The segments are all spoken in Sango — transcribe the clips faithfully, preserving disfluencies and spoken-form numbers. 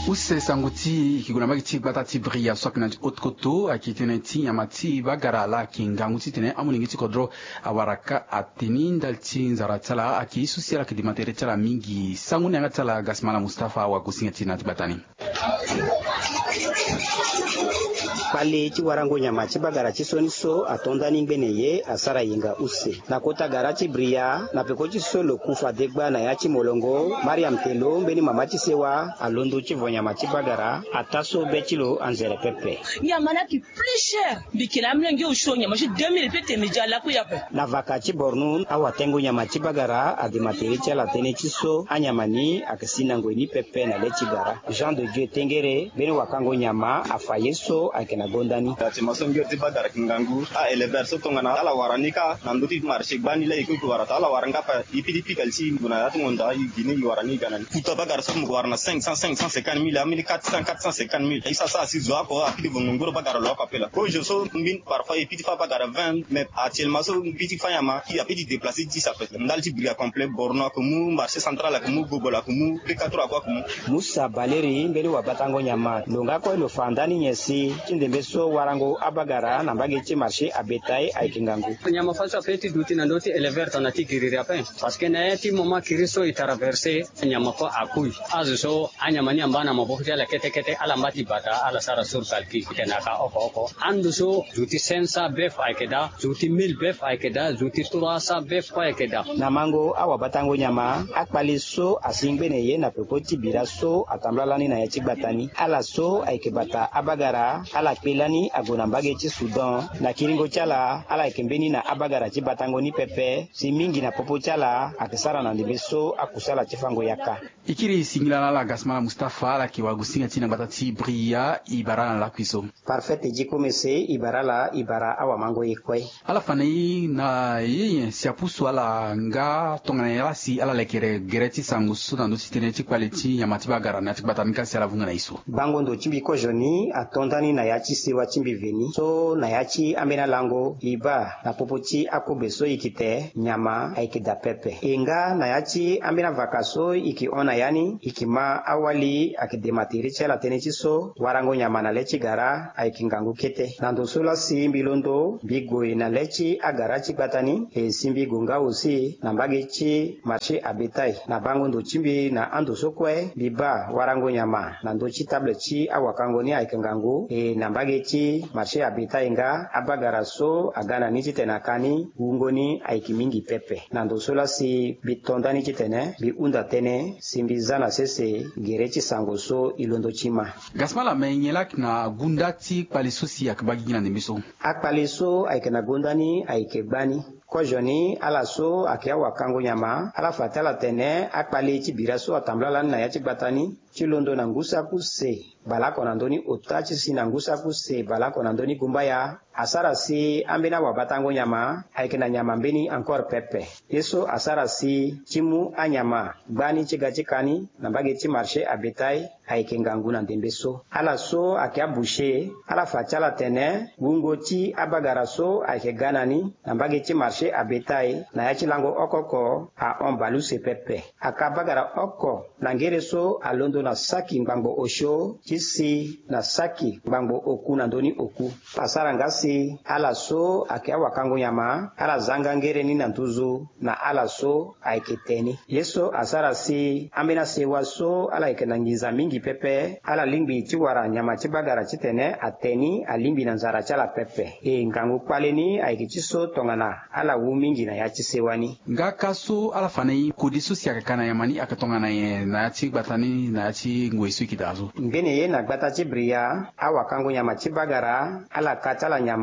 Use sango ti e yeke gue na mbage ti gbata ti Bria so ayeke na ti haute côte, ayeke tene ti nyama ti bagara laa ayeke ngangu titene amolenge ti kodro awara ka ateni ndali ti nzara ti ala. Ayeke ye so si ala yeke dema tere ti ala mingi. Sango ni yanga ti ala Gasmala Mustapha awagosinga ti e na ya ti gbata ni. Kpale ti warango nyama ti bagara ti sioni so ato ndani ngbene ye asara yenga use na kota gara ti Bria na peko ti so lo ku fadegba na ya ti molongo. Mariam Telo mbeni mama ti sewa alondo ti vo nyama ti bagara ataa so be ti lo anzere pepe. Nyama ni ayeke plus cher. Mbi yeke na amolenge osio nyama ti deux mille pe tene mbi ja laku ya ape. Na vaka ti Borno awatengo nyama ti bagara adema tere ti ala tënë ti so anyama ni ayeke si na ngoi ni pepe na le ti gara. Jean de Dieu Tengere mbeni wakango nyama afa ye so ayeke na gonda ni. Ati ma so ngere ti bagara ayeke ngangu. A-éleveur so tongana ala wara ni kâ na ndö ti marché gbani la e kue e wara taa ala wara nga ape. E pidi pika li ti ngu na ya ti ngonda e gi ni e wara ni e ga na ni. Kuta bagara so mo wara na cinq cents, cinq cent cinquante mille, ambeni quatre cents, quatre cent cinquante mille. E sa sa asi zo oko apidi vo ngongoro bagara lo oko ape laa. Kozo so mbeni parfois e pidi fâ bagara vingt, mais actuellement so mbeni ti fâ nyama e apidi déplacer dix ape. Ndali ti Bria complet, Borno ayeke mu, marché central ayeke mu, Gobol ayeke mu, P quatre ayeke mu. Musa Baleri mbeni wabatango nyama lo nga kue lo fa ndani nyen si ti ndembe so warango abagara na mbage ti marché à bétail ayeke ngangu. Nyama faso ape ti duti na ndö ti éleveur tongana ti giriri ape. Parce que na ya ti moment kiri so e traverser, nyama kue akui. Azo so anyama ni amba na maboko ti ala kete kete, ala mba ti bata ala sara sur calcul. Tene aka oko oko ando so zo ti cinq cents bœuf ayeke daa, zo ti mille bœuf ayeke daa, zo ti trois cents bœuf kue ayeke daa. Na mango awabatango nyama, akpale so asi ngbene ye na peko ti bira so atambula lani na ya ti gbata ni. Ala so ayeke bata abagara ala kpe lani ague na mbage ti Soudan. Na kiringo ti ala ala yeke mbeni na abagara ti batango ni pepe. Si mingi na popo ti ala ayeke sara na ndembe so akusala ti fango yaka. E kiri singila na ala Gasmala Mustapha, ala yeke wagosinga ti e na gbata ti Bria. E bara ala na lakui so. Parfait ti e diko mese, e bara ala, e bara awamango ye kue. Ala fa na e na ye nyen si apusu ala nga tongana nyen laa si ala lekere gere ti sango so na ndö ti tënë ti kpale ti nyama ti bagara na ya ti gbata ni ka si ala vunga na e so. Bango ndo ti mbi kozo ni ato ndani na ya ti sewa ti mbi veni so na ya ti ambeni alango e baa na popo ti akobe so e yeke te nyama ayeke daa pepe. E nga na ya ti ambeni avaka so e yeke hon na ya ni e yeke ma awali ayeke dema tere ti ala tënë ti so warango nyama na le ti gara ayeke ngangu kete. Na ndo so laa si mbi londo mbi gue na le ti agara ti gbata ni e si mbi gue nga aussi na mbage ti marché à bétail. Na bango ndo ti mbi na ando so kue mbi baa warango nyama na ndö ti table ti awakango ni ayeke ngangu. E na mbage ti marché à bétail nga abagara so aga na ni titene aka ni wungo ni ayeke mingi pepe. Na ndo so laa si mbi to ndani titene mbi hunda tënë si mbi za na sese gere ti sango so e londo ti ma. Gasmala, me nyen laa ayeke na gunda ti kpale so si ayeke baa gigi na ndembe so? Akpale so ayeke na gonda ni ayeke gbani. Kozo ni ala so ayeke awakango nyama ala fa ti ala tene akpale ti bira so atambula lani na ya ti gbata ni ti londo na ngu saki use baleoko na ndö ni ota ti si na ngu saki use baleoko na ndö ni gumbaya. Asara si ambeni awabatango nyama ayeke na nyama mbeni encore pepe. Ye so asara si ti mu anyama gbani ti ga ti ka ni na mbage ti marché à bétail ayeke ngangu na ndembe so. Ala so ayeke aboucher ala fa ti ala tene wungo ti abagara so ayeke ga na ni na mbage ti marché à bétail na ya ti lango oko oko ahon baleuse pepe. Aka bagara oko na ngere so alondo na saki ngbangbo osio ti si na saki ngbangbo oku na ndö ni oku. Asara nga si ala so ayeke awakango nyama ala za nga ngere ni na nduzu na ala so ayeke te ni. Ye so asara si ambeni asewa so ala yeke na nginza mingi pepe ala lingbi ti wara nyama ti bagara titene ate ni alingbi na nzara ti ala pepe. E ngangu kpale ni ayeke ti so tongana ala wu mingi na ya ti sewa ni. Nga ka so ala fa na e kode so si ayeke ka na nyama ni ayeke tongana nyen na ya ti gbata ni na ya ti ngoi so e yeke daa so? Ngbene ye na gbata ti Bria awakango nyama ti bagara ala ka ti ala nyama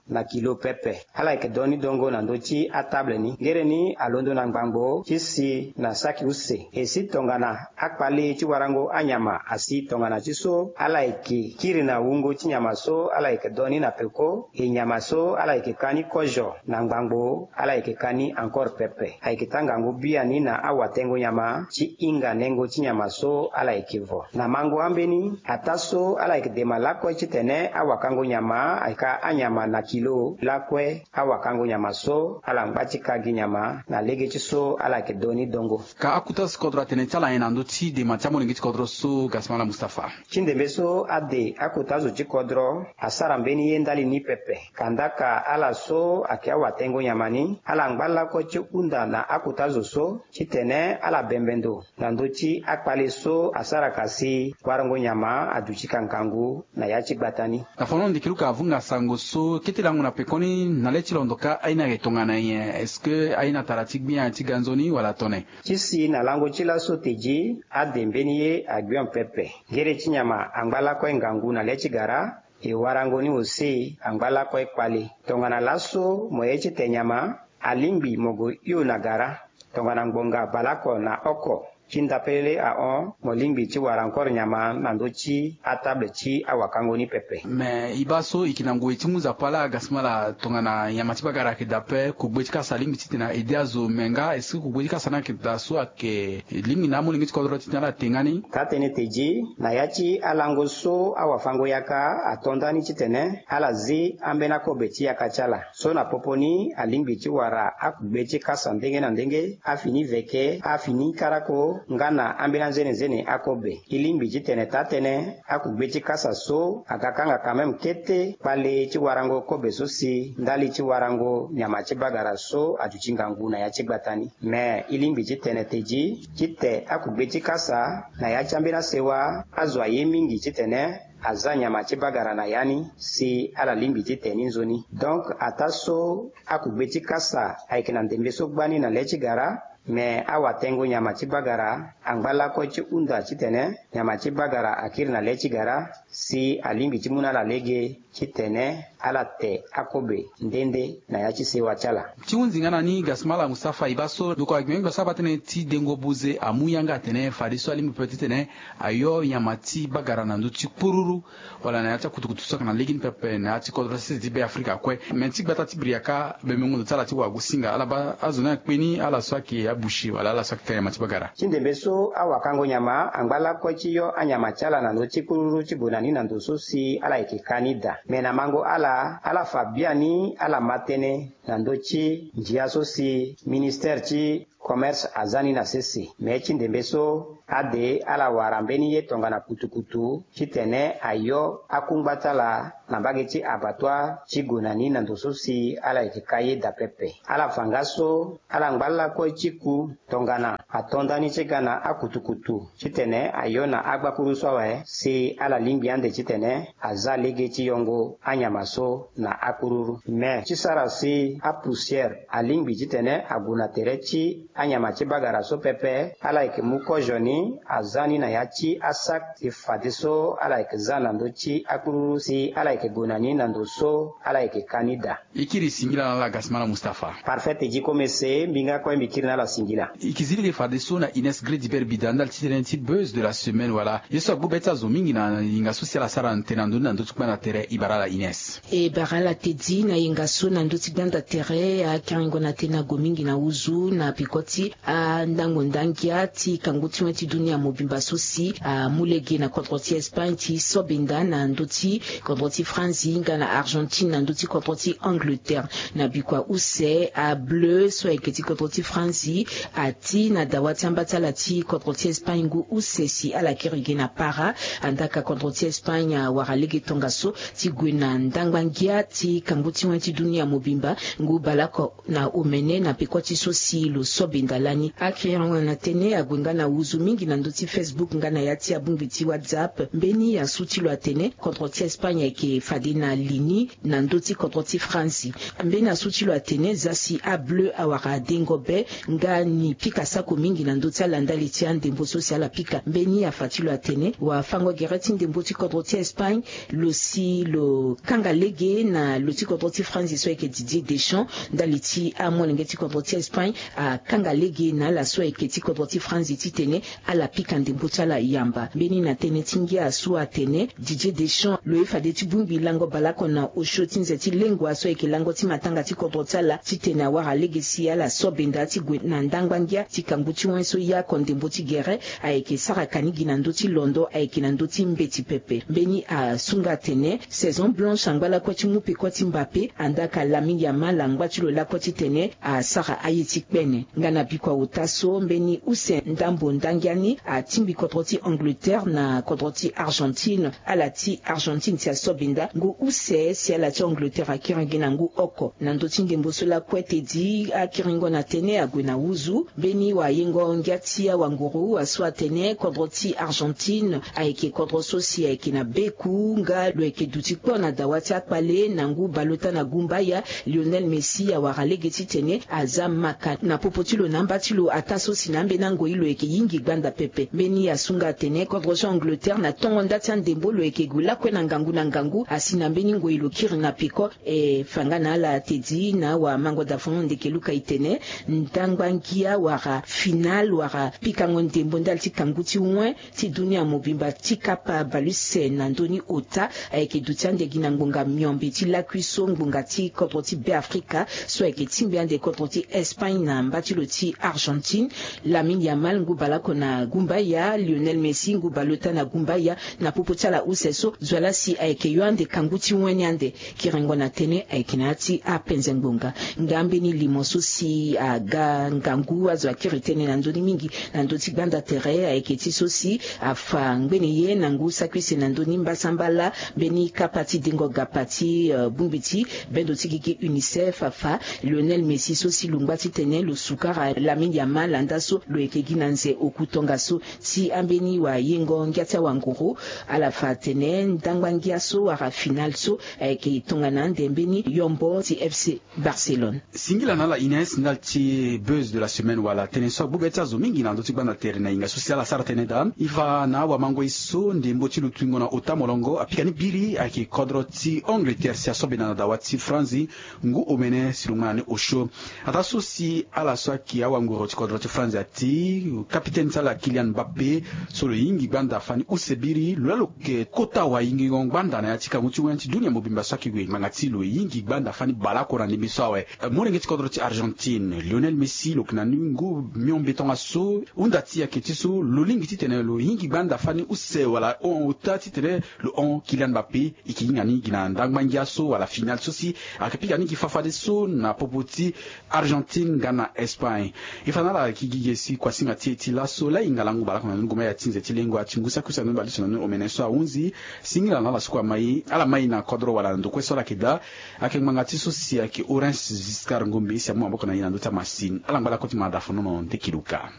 na kilo pepe. Ala yeke do ni dongo na ndö ti atable ni. Ngere ni alondo na ngbangbo ti si na saki use. E si tongana akpale ti warango anyama asi tongana ti so ala yeke kiri na wungo ti nyama so ala yeke do ni na peko. E nyama so ala yeke ka ni kozo na ngbangbo ala yeke ka ni encore pepe. Ayeke taa ngangu biani na awatengo nyama ti hinga nengo ti nyama so ala yeke vo na mango ambeni ataa so ala yeke dema lakue titene awakango nyama ayeke anyama na kilo lakue awakango nyama so ala ngba ti ka gi nyama na lege ti so ala yeke do ni dongo. Ka akuta so kodro atene ti ala nyen na ndö ti dema ti amolenge ti kodro so gasmala mustafa? Ti ndembe so ade akota zo ti kodro asara mbeni ye ndali ni pepe kandaka ala so ayeke awatengo nyama ni ala ngba lakue ti hunda na akota zo so titene ala bembe ndo na ndö ti akpale so asara ka si warango nyama aduti ka ngangu na ya ti gbata ni. Na fano ndiki luka avunga sango so kete lango na pekoni na le ti londo ka aye ni ayeke tongana nyen? Est-ce que aye ni atara ti gbia ti ga nzoni wala tone? Ti si na lango ti laso tedi ade mbeni ye agbio pepe. Ngere ti nyama angba lakue ngangu na le ti gara e warango ni ose angba lakue kpale tongana laso mo ye ti te nyama alingbi mo gue hio na gara tongana ngbonga baleoko na oko ti ndapelele ahon mo lingbi ti wara encore nyama na ndö ti atable ti awakango ni pepe. Me e baa so e yeke na ngoi ti mu nzapa laa gasmala tongana nyama ti bagara ayeke daa ape kogbe ti kasa alingbi titene aide azo me nga est-ce que kogbe ti kasa ni ayeke daa so ayeke lingbi na amolenge ti kodro titene ala te nga ni? Taa tënë tedi na ya ti alango so awafango yaka ato ndani titene ala zi ambeni akobe ti yaka ti ala so na popo ni alingbi ti wara akugbe ti kasa ndenge na ndenge afini veke afini karako nga na ambeni anzenenzene akobe. E lingbi titene taa tënë akugbe ti kasa so aga kanga quand même kete kpale ti warango kobe so si ndali ti warango nyama ti bagara so aduti ngangu na ya ti gbata ni. Me e lingbi titene tedi ti te akugbe ti kasa na ya ti ambeni asewa azo aye mingi titene aza nyama ti bagara na ya ni si ala lingbi ti te ni nzoni. Donc ataa so akugbe ti kasa ayeke na ndembe so gbani na le ti gara me awatengo nyama ti bagara angba lakue ti hunda titene nyama ti bagara akiri na le ti gara si alingbi ti mu na ala lege titene ala te akobe nde nde na ya ti sewa ti ala. Ti hunzi nga na ni gasmala mustafa e baa so ndoko agbengbia so abaa tënë ti dengo buze amu yanga atene fadeso alingbi pepe titene ayo nyama ti bagara na ndö ti kpururu wala na ya ti akutukutu so ayeke na legeni pepe na ya ti kodro sese ti be afrika kue. Me ti gbata ti briaka bemengo ndo ti ala ti wagosinga ala baa azo ni akpe ni ala so ayeke abushi wala ala so ayeke ka nyama ti bagara? Ti ndembe so awakango nyama angba lakue ti yo anyama ti ala na ndö ti kpururu ti gue na ni na ndo so si ala yeke ka ni daa. Me na mango ala ala fa biani ala ma tënë na ndö ti ndia so si ministere ti commerce aza ni na sese. Me ti ndembe so ade ala wara mbeni ye tongana kutukutu titene ayo akungba ti ala na mbage ti abattoir ti gue na ni na ndo so si ala yeke ka ye daa pepe. Ala fa nga so ala ngba lakue ti ku tongana ato ndani ti ga na akutukutu titene ayo na agbakuru so awe si ala lingbi ande titene aza lege ti yongo anyama so na akururu. Me ti sara si apoussière alingbi titene ague na tere ti anyama ti bagara so pepe ala yeke mu kozo ni aza ni na ya ti asak ti fadeso ala yeke za na ndö ti akururu si ala yeke gue na ni na ndo so ala yeke ka ni daa. E kiri singila na ala gasmala mustafa. Parfait tedi komese mbi nga kue mbi kiri na ala singila. E yeke zi lege fadeso na ines grediber bida ndali ti tënë ti buzz de la semaine wala ye so agbu be ti azo mingi na yinga so si ala sara na tene na ndö ni na ndö ti gbanda tere e bara ala ines. E bara ala tedi na yinga so na ndö ti gbanda tere akerengo na tene ague mingi na huzu na peko ti andango ndangia ti kangu ti wen ti dunia mobimba so si amu lege na kodro ti espagne ti sobenda na ndö ti kodro ti franzi nga na argentine na ndö ti kodro ti angleterre. Na bikua use ableu so ayeke ti kodro ti franzi ati na dawa ti amba ti ala ti kodro ti espagne ngu use si ala kiri gi na para. Andaka kodro ti espagne awara lege tongaso ti gue na ndangba ngia ti kangu ti wen ti dunia mobimba ngu baleoko na omene na peko ti so si lo sobenda lani. Akiri yango na tene ague nga na huzu mingi na ndö ti facebook nga na ya ti abongbi ti whatsapp mbeni asu ti lo atene kodro ti espagne ayeke fade na li ni na ndö ti kodro ti franzi. Mbeni asu ti lo atene za si ableu awara dengo be nga ni pika sako mingi na ndö ti ala ndali ti andembo so si ala pika mbeni afa ti lo atene wafango gere ti ndembo ti kodro ti espagne lo si lo kanga lege na lo ti kodro ti franzi so ayeke didier deschamps ndali ti amolenge ti kodro ti espagne akanga lege na ala so ayeke ti kodro ti franzi titene ala pika ndembo ti ala yamba. Mbeni na tënë ti ngia so atene Didier Deschamps lo ye fade ti bongbi lango baleoko na osio ti nze ti lengua so ayeke lango ti matanga ti kodro ti ala titene awara lege si ala so benda ti gue na ndangba ngia ti kangu ti wen so ya oko ndembo ti gere ayeke sara kani gi na ndö ti londo ayeke na ndö ti mbeti pepe. Mbeni asunga atene saison blanche angba lakue ti mu peko ti Mbappé, andaa ka Lamine Yamal angba ti lo lakue titene asara aye ti kpene. Nga na bikua ota so mbeni use ndambo ndangia ni atingbi kodro ti Angleterre na kodro ti Argentine. Ala ti Argentine si asobenda ngu use si ala ti Angleterre akiri gi na ngu oko. Na ndö ti ndembo so lakue tedi akiringo na tene ague na wuzu. Mbeni wayengo ngia ti awanguru asu atene kodro ti Argentine ayeke kodro so si ayeke na beku nga lo yeke duti kpo na dawa ti akpale na ngu baleota na gumbaya. Lionel Messi awara lege titene aza maka na popo ti lo na amba ti lo ataa so si na ambeni angoi lo yeke yingi gbanda pepe. Mbeni asunga atene kodro so Angleterre na tongo nda ti andembo lo yeke gue lakue na ngangu na ngangu asi na mbeni ngoi lo kiri na peko. E fa nga na ala tedi na awamango dafono ndeke luka e tene ndangba ngia wala finale wala pikango ndembo ndali ti kangu ti wen ti dunia mobimba ti kapa bale use na ndö ni ota ayeke duti ande gi na ngbonga miombe ti lakui so ngbonga ti kodro ti Beafrika so ayeke tingbi ande kodro ti Espagne na mba ti lo ti Argentine. Lamine Yamal ngu baleoko na gumbaya, Lionel Messi ngu baleota na gumbaya. Na popo ti ala use so zo wa laa si ayeke yo ande kangu ti wen ni ande. Kiringo na tënë ayeke na ya ti apenze ngbonga. Nga mbeni limo so si aga ngangu azo akiri tënë na ndö ni mingi na ndö ti gbanda tere ayeke ti so si afa ngbene ye na ngu saki use na ndö ni mbasambala mbeni kapa ti dengo gapa ti bongbi ti bendo ti gigi UNICEF afa Lionel Messi so si lo ngba titene lo sukara Lamine Yamal andaa so lo yeke gi na nze oku tongaso. Ti ambeni wayengo ngia ti awanguru ala fa atene ndangba ngia so wala finale so ayeke tongana ande mbeni yombo ti FC Barcelone. Singila na ala Ines ndali ti buzz de la semaine wala tënë so agbu be ti azo mingi na ndö ti gbanda tere na hinga so si ala sara tënë daa. E fa na awamango e so ndembo ti lutuingo na ota molongo apika ni biri ayeke kodro ti Angleterre si asobenda na dawa ti France ngu omene si lo ngba na ni osio. Ataa so si ala so ayeke awanguru ti kodro ti France ati kapitene ti ala Kylian Mbappé so lo yingi gbanda fani use biri lo laa lo yeke kota wayingingo gbanda na ya ti kangu ti wen ti dunia mobimba so ayeke gue ngbanga ti lo yingi gbanda fani baleoko na ndembe so awe. Molenge ti kodro ti Argentine Lionel Messi lo yeke na ni ngu miombe tongaso hunda ti ayeke ti so lo lingbi titene lo yingi gbanda fani use wala hon ota titene lo hon Kylian Mbappé. E yeke hinga ni gi na ndangba ngia so wala finale so si ayeke pika ni gi fafadeso na popo ti Argentine nga na Espagne. E fa na ala gi gi ge si kuasinga ti e ti laso laa e hinga lango baleoko na ndoni goma ya ti nze ti lengua ti ngu saki use na ndoni baleuse na ndoni omene so ahunzi. Singila na ala so kue amai ala mai na kodro wala na ndo kue so ala yeke daa. Ayeke ngbanga ti so si ayeke Orange Giscard Ngombe si amu maboko na ye na ndö ti amasini ala ngba lakue ti mada fonono nde kiluka.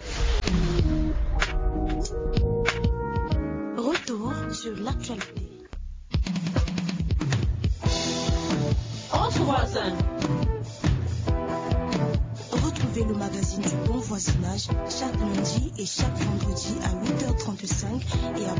Retour sur l'actualité. Entre voisins. Retrouvez le magazine du bon voisinage chaque lundi et chaque vendredi à huit heures trente-cinq et à